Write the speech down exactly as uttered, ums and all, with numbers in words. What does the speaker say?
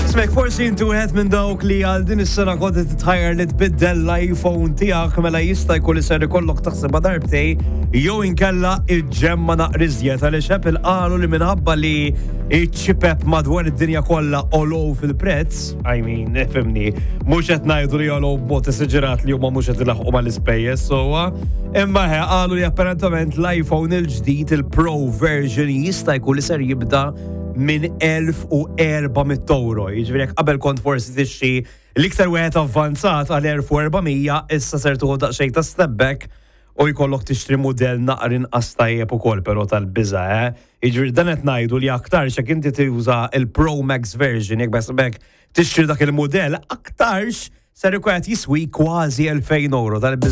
Smek, forsi inti wieħed minn dawk li għal din is-sena kont titħajjar li tbiddel l-iPhone tiegħek, mela jista' jkun li ser ikollok taħsebha darbtejn jew inkella iġġemma naqra iżjed, għaliex Apple qalu li minħabba li iċ-ċipep madwar id-dinja kollha għolew fil-prezz, I mean, ifhimni, mhux qed ngħidu li għolew b'mod esaġerat li huma mhux qed ilaħqu mal-ispejjeż sewwa, imma he qalu li apparentament l-iPhone il-ġdid, il-Pro version, jista' jkun li ser jibda minn elf u erba' mitt euro. Jiġifieri jekk qabel kont forsi tixtri l-iktar wieħed avvanzat għal elf u erba' mija, issa ser tieħu daqsxejn ta' step back u jkollok tixtri mudell naqra inqas tajjeb ukoll, però tal-biża, eh? Jiġifieri dan qed ngħidu li aktar jekk inti tuża il-Pro Max version, jekk bes tixtri dak il-mudell, aktarx ser ikun qed jiswi kważi elfejn euro tal-biża.